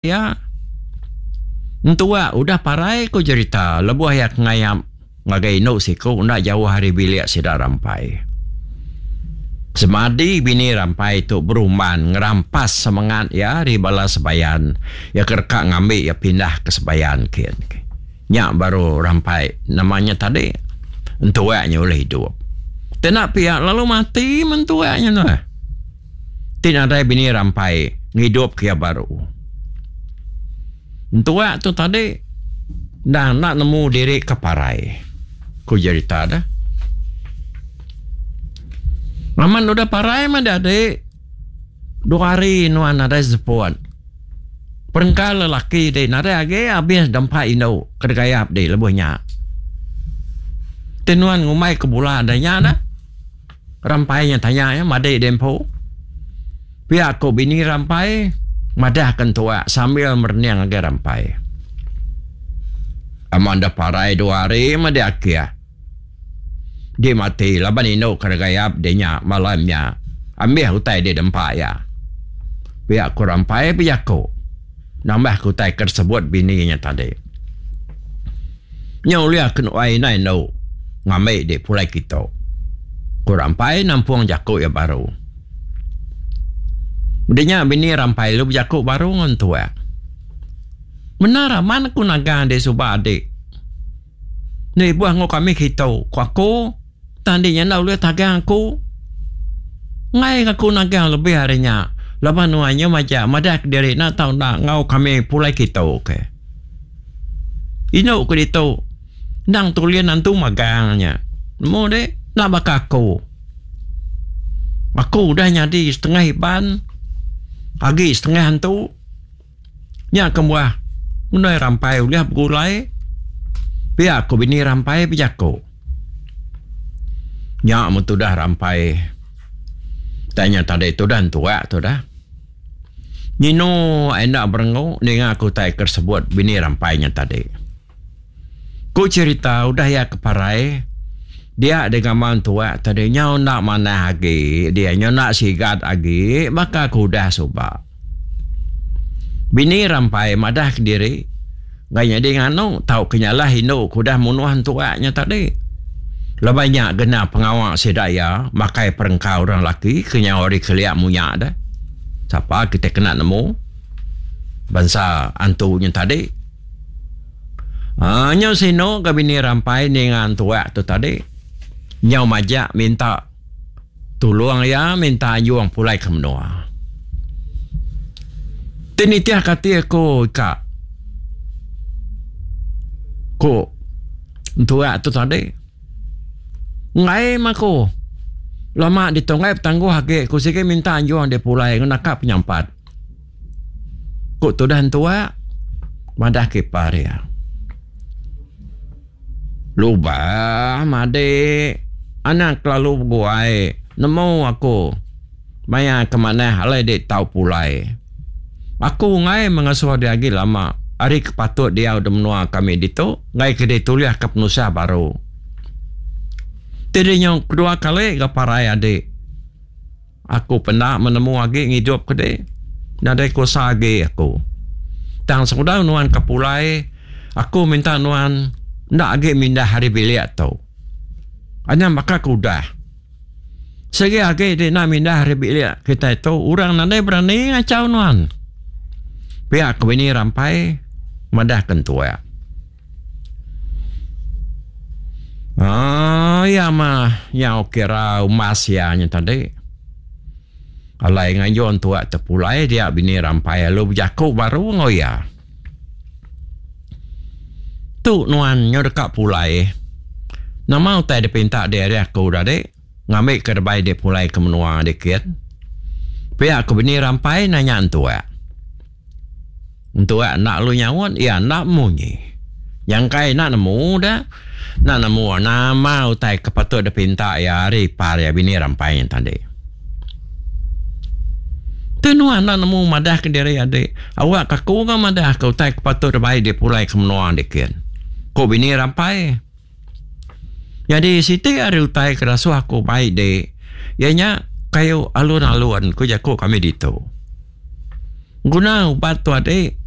Iya. Entua udah parai ku jerita lebuh iya ke ngayap ngagai indu siku enda jauh ari bilik sida Rampai. Semadi bini Rampai tu berumban ngerampas semengat iya ari bala sebayan iya ke deka ngambi iya pindah ke sebayan kin. Nya baru Rampai nama nya tadi entua nya ulih idup. Ti enda pia lalu mati mentua nya tu. Ti nadai bini Rampai ngidup ke iya baru. Entua tu tadi endang enda nemu diri ke parai, ku jerita deh. Amat udah parai meh dadi dua hari nuan nadai seput. Perengka lelaki ti nadai agi abis dempa indu ke degayap di lebuh nya. Ti nuan ngumbai ke bula da nya dah. Rampai nya tanya iya madi deh empu. Pia ku bini Rampai madah ke entua sambil merening ngagai Rampai. Aman deh parai dua hari meh deh akih. Di mati laban indu ke regayap deh nya malam nya ambih utai deh dempa iya. Pia ku Rampai bejaku nambah ke utai ke disebut bini nya tadi. Nya ulih ke nuai indai endu ngambi dek pulai kitu. Ku Rampai nampung jaku iya baru. Udah nya bini Rampai lalu bejaku baru enggau entua. Bendar amat aku nagang dek suba adik. Enda ibuh enggau kami kitu, ku aku. Tang dik nya enda ulih tagang aku. Enggai aku nagang lebih ari nya laban nuan nya majak madah kediri enda tau enda enggau kami pulai kitu ke. Indu ke ditu endang tulin antu magang nya. Nemu dik enda baka aku. Aku udah nyadi setengah Iban agi setengah antu. Nya kebuah mendai Rampai ulih begulai pia ku bini Rampai bejaku. Nya meh tudah Rampai tai nya tadi tudah entua tudah. Nyinu enda berengu ninga ke utai ke disebut bini Rampai nya tadi. Ku cherita udah iya ke parai dia digamal entua tadi nyau enda manah agi dia nyau enda sigat agi baka ke udah suba. Bini Rampai madah kediri enggai nyadi nganu tauka nyalah indu ke udah munuh entua nya tadi. Laban nya gena pengawa sida iya makai perengka orang laki ke nyau ari kelia munya deh. Sapa kitai kena nemu bansa antu nya tadi. Aaa nyau sinu ga bini Rampai ninga entua tu tadi nyau majak minta tulung iya minta anjung pulai ke menua. Ti nitih ka ati aku ika ku entua tu tadi enggai meh aku lama ditu enggai betangguh agi ku sigi minta anjung deh pulai naka penyampat. Ku tudah entua madah ke ipar iya. Lubah madik anang kelalu beguai nemu aku maya ke manah alai dik tau pulai. Aku enggai mengasuh diri agi lama ari ke patut diau di menua kami ditu enggai ke ditulih ke penusah baru. Ti deh nyau kedua kali ga parai adik. Aku penda menemu agi ngidup ke dek. Nadai kuasa agi aku. Tang sebedau nuan ke pulai, aku minta nuan enda agi mindah ari bilik tu. Anyam baka ke udah. Sigi agi dek enda mindah ari bilik kitai tu, orang nadai berani ngachau nuan. Pia ke bini Rampai madah ke entua. Aaa iya mah nyau kira umbas iya nya tadi. Alai ngayun tuak tepulai dia bini Rampai lalu bejaku baru enggau iya. Tu nuan nyau deka pulai. Nama utai dipinta dek ari aku tadi ngambika debai dek pulai ke menua dikit. Pia ku bini Rampai nanya entuak. Entua enda lalu nyaut, iya enda munyi. Nyangkai enda nemu da, enda nemu nama utai ke patut dipinta iya ari ipar iya bini Rampai nya tadi. Ti nuan enda nemu madah ke diri adi, awak ke aku ga madah ke utai ke patut dibai dipulai ke menua dikin, ku bini Rampai. Nyadi siti ari utai ke dasuh aku bai di iya nya kayu alun-alun ku jaku kami ditu. Guna ubat tu adi.